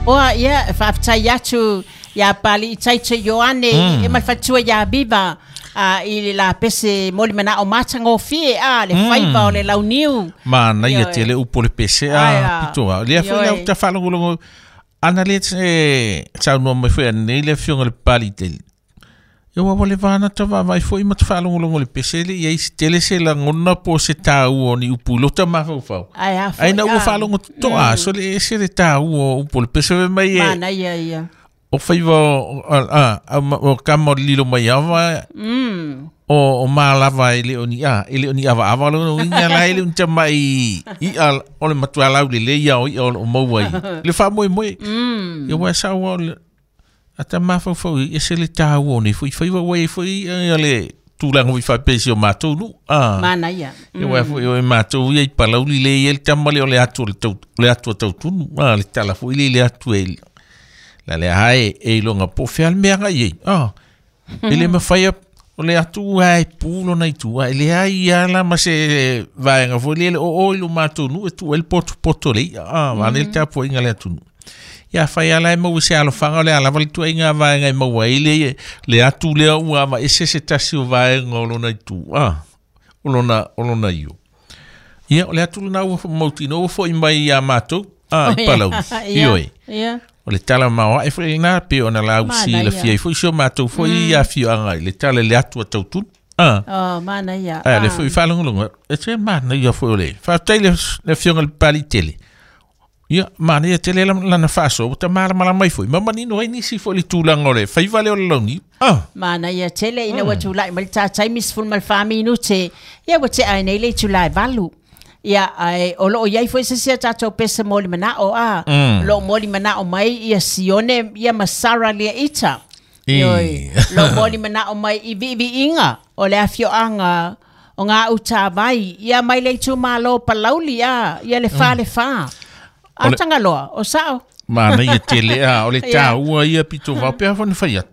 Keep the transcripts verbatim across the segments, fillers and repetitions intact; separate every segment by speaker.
Speaker 1: Oa ia faafetai atu ia Pali Taito Ioane mm. e malfatua ia Viva a i le la pese moli mana o matagofie a le mm. faiva o le launiu.
Speaker 2: Manaia tele upu le pese a pitoa. Lea foi lau tafaalogologo ana le saunoa mai foi anei le afioga le Pali tele. Ia ua le vana ta vaavaai foi ma te faalogologo le pese le iai se tele se lagona po o se tāua o ni upu i lota mafaufau.
Speaker 1: Ai a foi
Speaker 2: Ai na ua faalogo totoa so le ese le tāua o upu o le pese fai mai e
Speaker 1: manaia ia.
Speaker 2: O faiva o a o kama o le lilo mai ava o o malava e le o ni a e le o ni avaava lona uiga la e le o ni tamai i'a o le matua laulelei ia o i'a o loo maua i le faamoemoe. Ia ua e saua o le ata mafaufau i ese le tāua o nei foi faiva ua iai foi ia le tulaga foi faapea i si o matou nuu a
Speaker 1: Manaia.
Speaker 2: Ia ua foi o e matou ia i Palauli le ia le tama lea o le atu o le tau le atu a tautunu a le tala foi le le atu e la le ae e iloga po o fea le mea agai ai a e le mafai o le atu ai pu lona i tua e leai ia la ma se vaega foi lele o o i lo matou nuu e tuu ai le potopoto le i'a a vaane le tapuaiga le atunuu. Ia fai ala e maua se alofaga o le a lava le tuaiga vaega e maua ai le le atu lea ua avaese se tasi o vaega o lona itu a o lona o lona io. Ia o le atu lena ua mautinoa ua fo'i mai iā matou a i Palauli. Ioe. O le tala maoae foi lena pe ona lausi lafia ai foi si o matou foi afioaga i le tala i le atu a tautunu. A.
Speaker 1: Oh, manaia.
Speaker 2: A le foi faalogologo e te manaia foi o le faafetai le le afioga i le Papalii tele. Ia, manaia tele lana faasoa ua tamalamalama ai foi ma manino ai nisi foi le tulaga o le faiva lea o le launiu. Ah.
Speaker 1: Manaia tele ina ua tulai mai le tātai sefulu ma le fa minute. Ia ua tea ai nei le itula e valu. Ia ae o loo iai foi se isi a tatou pese mo le manao a.
Speaker 2: Mm.
Speaker 1: O loo mo le manao mai ia Sione ia ma Sara lia ita.
Speaker 2: I.
Speaker 1: Ioi, loo mo le manao mai i viiviiga o le afioaga o ngā utavai ia mai le itumalo Palauli a ia le fa le fa.
Speaker 2: O le-
Speaker 1: A Tagaloa, o sao.
Speaker 2: Manaia tele a o le
Speaker 1: Ia.
Speaker 2: tāua ia pito vao pea foi na fai atu.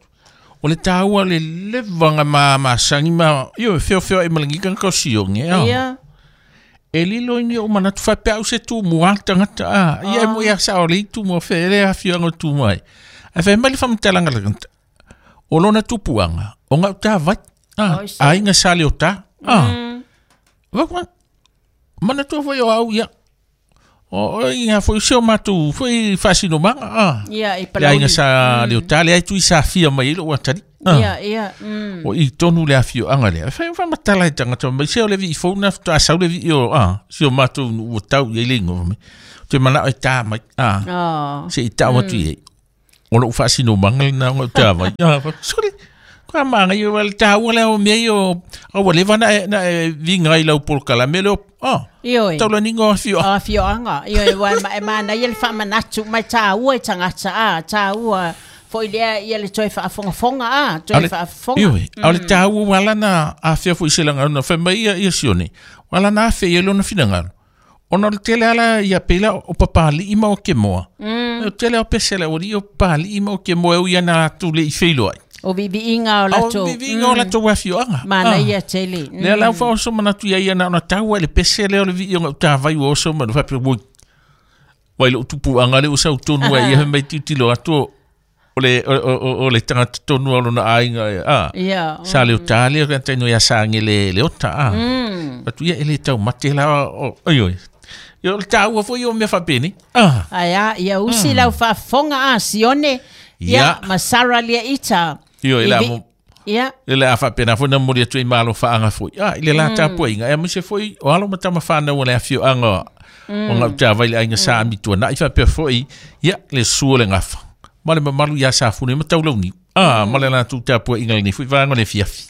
Speaker 2: O le tāua le levaga ma masagi ma ioe feofeoai ma le giga na kausiogi a.
Speaker 1: Ia.
Speaker 2: E lilo i ni ou manatu faapea au se tumua le tagata a. Ia e
Speaker 1: Oh.
Speaker 2: mo ia sao le tumua fe le afioaga o tumua ai. Ae fai mai le faamatalaga le tagata. O lona tupuaga o gautavai a
Speaker 1: Oi se.
Speaker 2: aiga sa leota a.
Speaker 1: Mm.
Speaker 2: Vaku manatua foi o au ia. O o ia foi se o matou foi faasinomaga a.
Speaker 1: Ia i
Speaker 2: Le
Speaker 1: Palauli.
Speaker 2: aiga sa leota le ai tui safia mai ai lou atali. A.
Speaker 1: Ia, ia. Mm.
Speaker 2: O i tonu le afioaga lea. Fai faamatala i tagata mai se o le vi'i fou na faatoa sau le vi'i o a si o matou nuu ua tau i ai le igoa mai. Ou te manao e tā mai a.
Speaker 1: Oh.
Speaker 2: Se i tau atu i ai. O lou faasinomaga lena o gautavai. A, sole. Kua maga ia o le tāua lea o mea ia o a ua leva na e na e viga ai lau polokalame lea o a.
Speaker 1: Ioe.
Speaker 2: Taulaniga o afioaga.
Speaker 1: O afioaga. Ioe, ua e ma- e manaia le faamanatu mai tāua i tagata a, tāua foi lea ia le toe faafogafoga a, toe
Speaker 2: Ale-
Speaker 1: faafofoga.
Speaker 2: Ioe, a o le tāua ua ala na afea foi se lagona fai mai ia ia Sione. Ua ala na afe ia lona finagalo. Ona o le tele ala ia pela o papali'i ma o kemoa.
Speaker 1: Mm.
Speaker 2: O tele o pese le ori o papali'i ma o kemoa e ui ana atu le i feiloai.
Speaker 1: O viiviiga o
Speaker 2: O
Speaker 1: latou.
Speaker 2: viiviiga o latou afioaga.
Speaker 1: Manaia tele.
Speaker 2: Lea la ua oso manatu ia ia na ona taua i le pese lea o le vii o gautavai ua oso manu faapea oi. Vai lou tupuaga le ua sau tonu ai ia fai mai tilotilo atu o o le o o o le tagata tonu o lona aiga e a.
Speaker 1: Ia.
Speaker 2: Sa leota lea ka taino ia sage le le ota a.
Speaker 1: Mm.
Speaker 2: Atu ia e le taumate la o oi oi. Ia o le taua foi o mea faapeni. Ah.
Speaker 1: Ai a, ia usi lau faafofoga a Sione. Ia,
Speaker 2: Ia.
Speaker 1: ma Sara lia ita.
Speaker 2: Ioe,
Speaker 1: I
Speaker 2: le a
Speaker 1: vi-
Speaker 2: mo-
Speaker 1: Ia.
Speaker 2: Le le a faapena foi na momoli atu ai ma alofaaga foi. A, i le la tapuaiga. E aemaise foi o alo ma tama whanau o le afioaga o gautavai le aiga sa amituana'i faapea foi ia le sua o le gafa. Ma le mamalu ia Safune ma taulauniu. A, ma le latou tapuaiga lenei foi vaega o le afiafi.